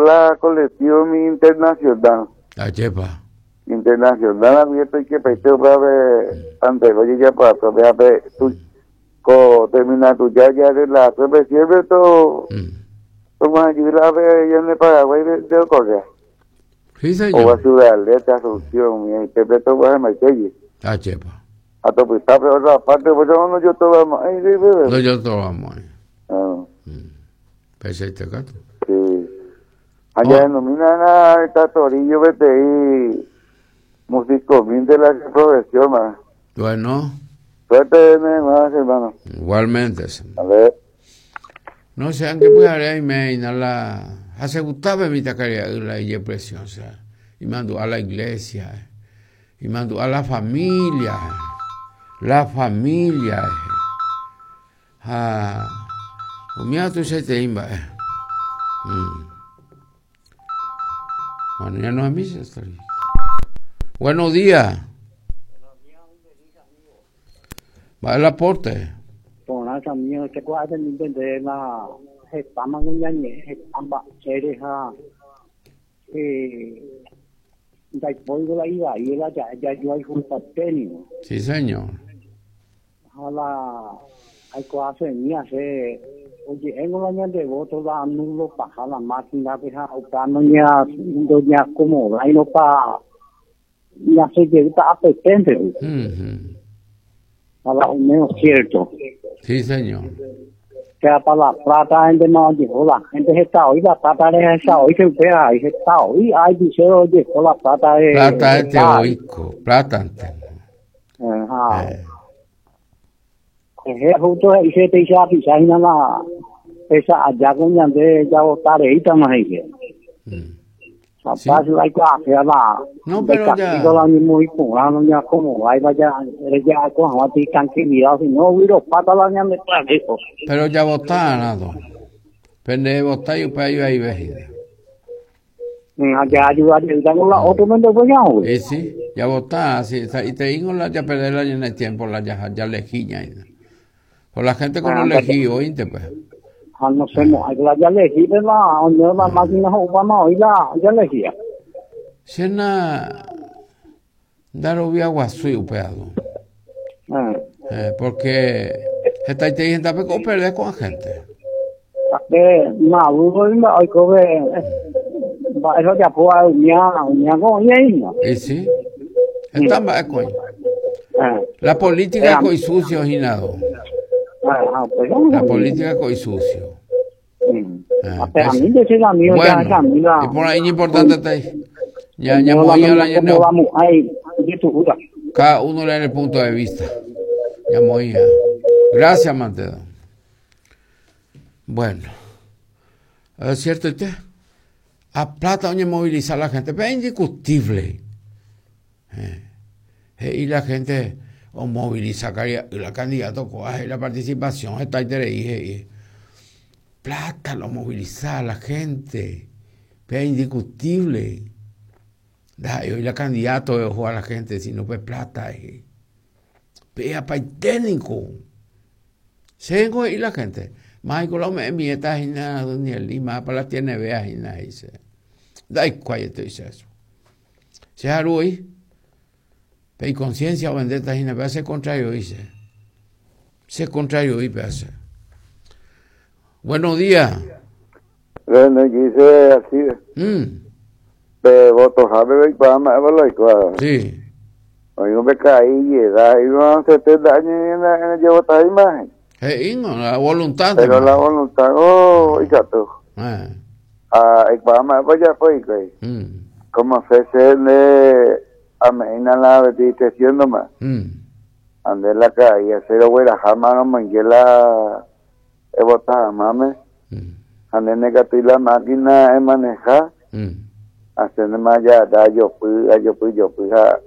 la colectivo mi internacional. Ajépa. Internacional aguyje toikepaite upévape anteve ojejapo'akue pévape ko terminal tuja jarrela'akue siempre to tog̃uahẽjey la pe ñande Paraguái de okorrea. Sí, señor. Oguasu Ciudad del Este, Asunción, umi upépe tog̃uahẽmbaitégui. Ajépa. Ha topyta pe otra parte, pues no ndojotovamo'ãi upépe. Ndojotovamo'ãi. Ah. Peichaite katu. Sí. Ha jahenomína la Torillo peteĩ musicomínte la che profesión ma. Bueno. Suerte más, hermano. Igualmente. A ver. No sé, aunque pyhare aime hína la ha che gustave mitãkaria'y la ijepresión, o sea, imandu'a la iglesia, imandu'a la familia, la familia ha umíva tuichaiterei mba'e. Bueno, ya no es misa, está bien. Buenos días. Va el aporte. Porã chamigo, che ko'ápe nintende la hetáma kuñañe'ẽ heta mba'ére ha ndaipóivo la ivai la ja'e jajuayhupaite ningo. Sí, señor. Ha la aikuaasemi che oje'éngo la ñande voto la anulo paha la máquina-pe ha upéva noñeakomodáirõ pa ñasẽ jeýta apyténte. Ha la oimévo cierto. Sí, señor. Péva pa la plata héntema ojeho la gente heta oĩ la plata rehecha oĩ che upéva heta oĩ aipiche ojeho la plata re. Plata ete oiko, plata-nte. Ha. Ehe, justo he'i che péicha apicha hína la péicha aja ko ñande javota reítama he'i che. Capaz aikuaase la No, pero ya. ndaikatúiva la oñemoĩ porã noñeakomodáiva ja reja'ako hag̃ua ti tranquilidad si no vyropáta la ñande pya'e. Pero javota arã do. Pende votái upe ivaive hína. Ha jaayuda jeýta la otro mende upéicha. Y sí, javota así, sa'iteíngo la ja perder la ñane tiempo la ja ja elegí ñaína. Por la gente con lo elegí oínte pues. Ha no sé, no, hay la ya elegí, pero la oño la máquina ho'úvama oĩ la ya elegía. Che na ndarovia guasúi upéva. Porque hetaitei hendápe ko operde ko'ã gente. Pe Maduro mba'e oikove mba'e ojapóva umía umía ko oĩ hína. Y sí. Heta mba'e ko oĩ. La política ko isucio hína do. La política ko isucio. Bueno, y por ahí importante está ahí. Ya, ya moía la ñane. Cada uno le da el punto de vista. Ya moía. Gracias, Mantedo. Bueno, es cierto, usted. A plata oñemoviliza la gente, pero es indiscutible. He'i la gente omoviliza la candidato ko'ã la participación hetaiterei he'i. Plata lo moviliza la gente, pe indiscutible. Ndaha'éi oĩ la candidato oho a la gente, sino pe plata he'i. Pe apaite niko. Chéngo he'i la gente, máiko la ome'ẽ miéta hína Danieli, mápa la tiene vea hína he'i che. Ndaikuaaiete oicha chupe. Che aru oĩ, pe iconciencia ovendéta hína, péva che contrario oĩ che. Che contrario oĩ péva che. Buenos días. Bueno, dice así. Pe votohápe oikuaa mba'épa la oikóva. Sí. Oĩ pe ka'i ijedad, iba 70 años y na imagen. He'íngo, la voluntad. Pero la voluntad oh, ikatu. Ha aikuaa mba'épa ojapo hikuái. Como fe che nde ame'ẽina la discrecióndoma. Ha nde la ka'i che rogueraháma romoinge la evota hag̃uáme. Ha nde ndaikatúi la máquina emaneha. Ha che ndéma ajopy, ajopy jopy ha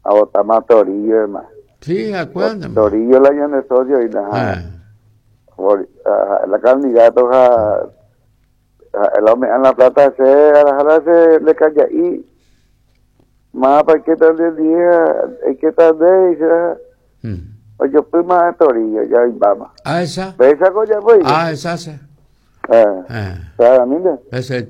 Abotáma Torillo, hermano. Sí, acuérdate. Torillo la ñande socio y la la candidato ja la ome'ã la plata che arahara che le kaja'i mápa aikéta nde ndie aikéta nde he'i ojopýma Torillo ja oimbáma. Ah, esa. Péicha ko ojapói. Ah, esa che. Eh. Eh. Claramente. Ese.